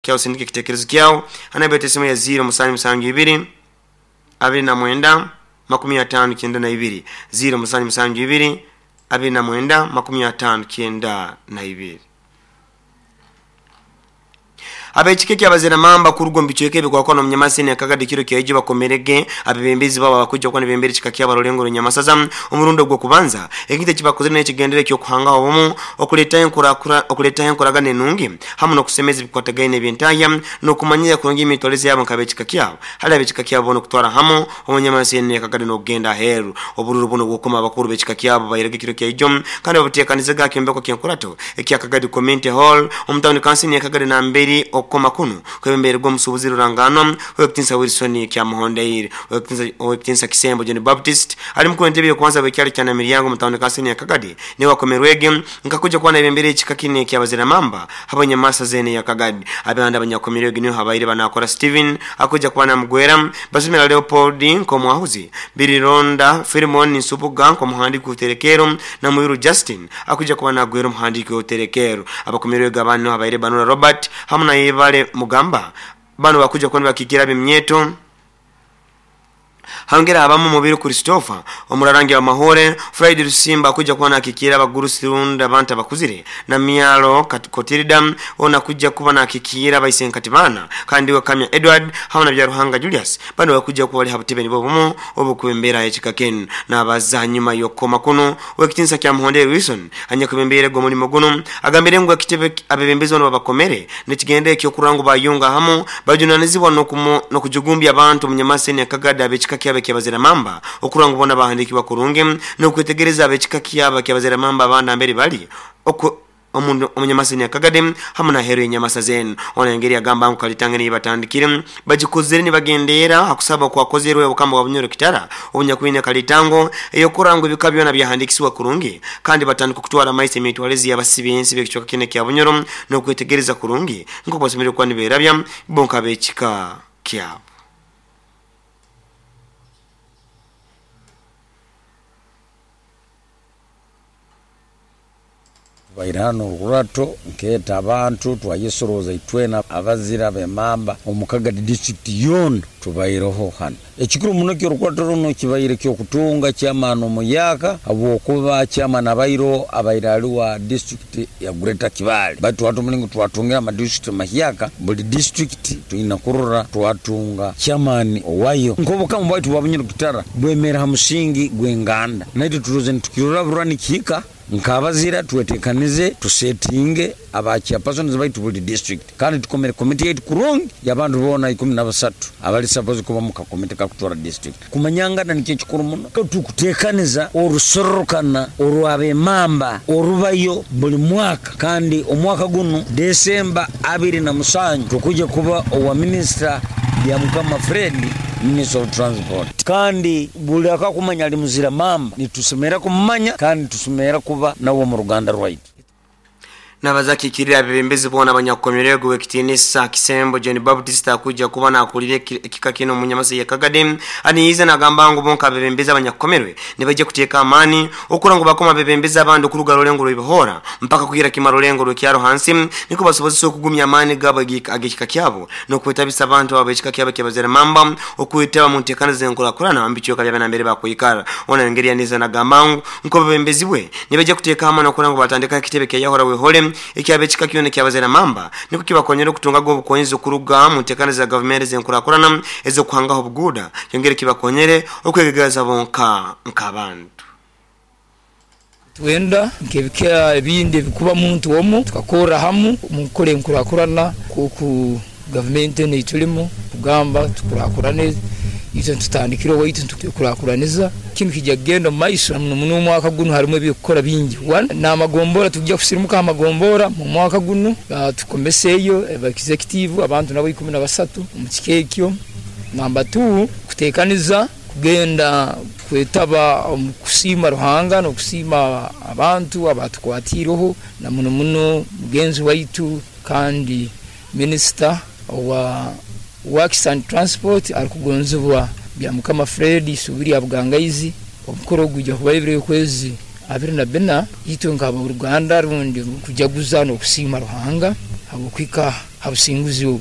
Kyawe osindike ekitekerezo kyawe ha namba yaitu esimu ya 0772 29 59 0772 29 59 Ab'ekika eky'abaziramamba kuruga omu bicweka ebikwakwana omu Nyamaseni Akagadi kiro kyaijo bakomerege abebembezi babo abakwija kuba nibembera ekika kyabo rulengo rw'Enyamasasa omurundi ogw'okubanza. Ekintu ekibakozere n'ekigendero eky'okuhangaho obumu, okuletaho enkoragana enungi hamu n'okusemeza ebikwatagaine eby'entahya n'okumanyira kurungi emitwalize yabo nk'ab'ekika kyabo hali ab'ekika kyabo boona okutwara hamu omu Nyamaseni Akagadi n'okugenda aheeru. Obururu bunu obw'okukoma abakuru b'ekika kyabo bairege ekiro kyaijo kandi babuteekanizaga ha kyombeko ky'enkurato ekya Kagadi Community Hall omu tawuni kansini ya Kagadi namberi okukoma kunu kwebembeirwe omusuubuzi ruranganwa Ow'ekitinisa Wilson Kyamuhondeire. Ow'ekitinisa Kisembo John Baptist ali mukuru w'entebe y'okubanza w'ekyaro kya Namiryango omu tawuni kansini ya Kagadi niwe akomerwege nkakuja kuba nayebembera ekika kinu eky'abaziramamba habw'enyamasa zeene eya Kagadi. Abandi abanyakomerwege niho habaire banakora Steven akuja kuba namugwera, Basemera Leopold nk'omwahuzi, Birironda Philemon Nsubuga nk'omuhandiiki w'oruterekero na Mwiru Justin akuja kuba nagwera omuhandiiki w'oruterekero. Abakomerwege abandi niho habaire Banura Robert hamu na Yebale Mugamba. Banu bakuja kuba nibakiikirra ab'eminyeeto. Hangera habamu Mubiru Christopher, omurarangi wa Mahure, Friday Rusimba akuja kuba nakiikirra abagurusi rundi abantu abakuzire, na Myalo Kotirida ona akuja kuba nakiikirra abaisenkati baana, kandi we Kamya Edward hamu na Byaruhanga Julius banu bakuja kuba bali ha butebe nibwo bumu obukwembera ekika kinu. Nabaza hanyuma y'okukoma kunu, Owekitinisa Kyamuhondere Wilson anyakwebembeirege omulimo gunu agambire ngu ekitebe abebembezi banu babakomere nekigendera ekyokurora ngu bayunga hamu bajunanizibwa nokujugumbya abantu omu Nyamaseni Akagadi abekika kyabo ekyabaziramamba okurora ngu bona bahandikibwa kurungi nokwetegereza abekika kyabo ekyabaziramamba abandi nambere bali omu Nyamaseni Akagadi hamu naheru yenyamasa zenu. Ono engeri agamba ngu Kalitange niyo batandikire bagikozere nibagendeera ha kusaba okwakozerwe Obukama bwa Bunyoro Kitara obunyakwine Kalitango eyokurora ngu ebika byona byahandikisibwa kurungi kandi batandika okutwara amaiso emitwalize y'abasi b'ensi b'ekicweka kinu ekya Bunyoro n'okwetegereza kurungi nk'oku basemeriire kuba niberabya bo nk'ab'ekika kyabo. Tubaire hanu orukurato nkeeta abantu twayesorooza itwena abazira b'emamba omu Kagadi disiturikiti yoona tubaireho hanu. Ekikuru muno eky'orukurato runu kibaire ky'okutunga chairman omuyaaka habwokuba chairman abaireho abaire ali wa disiturikiti ya Greater Kibaale baitu hati omulingo twatungire amadisiturikiti mahyaka buli disiturikiti twina kurora twatunga chairman owayo. Nk'obukama bwaitu bwa Bunyoro Kitara bwemeera ha musingi gw'enganda naitwe turoze nitukirora burora nikihika. Nk'abazira twetekanize tusetinge aba chairpersons baitu buli district kandi tukomere komiti yaitu kurungi y'abantu boona 13 abali suppose kuba mu kakomiti kakutwara district. Kumanyangana nikyo ekikuru muno. Tukutekaniza orusorrokana orw'ab'emamba orubayo buli mwaka kandi omwaka gunu December 27 tukuja kuba owa Minisita Byamukama Fred, Minister of Transport. Kandi buli akakumanya ali muzira mamba nitusemerra kumumanya kandi nitusemerra kuba nauwe omu ruganda rwaitu. Nabaza akiikirire abebembezi boona abanyakukomerwege Ow'ekitiinisa Kisembo John Baptist akwija kuba nakulira ekika kinu omu Nyamasa ya Kagadi aniize nagamba ngu bo nk'abebembezi abanyakukomerwe nibaija kuteeka amaani okurora ngu bakoma abebembezi abandi okuruga rulengo rw'ebihoora mpaka kuhikira kimu rulengo rw'ekyaro hansi nikwo basobozese okugumya amaani gaabo ag'ekika kyabo n'okwetabisa abantu abo ab'ekika kyabo eky'abaziramamba okwetaba mu nteekaniza z'enkurakurana omu bicweka byabo nambere bakwikara. Ono engeri yaniize nagamba ngu nk'obwebembezi bwe nibaija kuteeka amaani okurora ngu batandikaho ekitebe kya Yahura Wehole eky'ab'ekika kyona eky'abaziramamba nukwo kibakonyere okutungaga obukonyezi okuruga mu nteekaniza za gavumenti ez'enkurakurana ez'okuhangaho obuguuda kyongere kibakonyere okwegegaza bonka nk'abantu. Twenda nk'ebika ebindi ebikuba muntu omu, tukakorra hamu omu kukora enkurakurana nk'oku gavumenti enu ei tulimu kugamba tukurakurane, itwe nitutandikira owaitu nitwekurakuraniza. Kinu kiija kugenda omu maiso na muno muno omwaka gunu harimu eby'okukora bingi. One, n'amagombora tuija kusirimuka ha magombora mu mwaka gunu tukomeseeyo aba executive abantu nabo 13 omu kika ekyo. Namba two, kuteekaniza Kugenda kwetaba omu kusiima Ruhanga n'okusiima abantu abaatukwatiireho na muno muno mugenzi waitu kandi minisita owa Works and Transport arukugonzibwa Byamukama Fred Isubi lya Bugangaizi. Omukoro ogu gwija kubaho ebiro y'okwezi 24. Itwe nk'aboruganda rundi kujaguza n'okusiima Ruhanga habw'okuhika. Ha businguzi obu.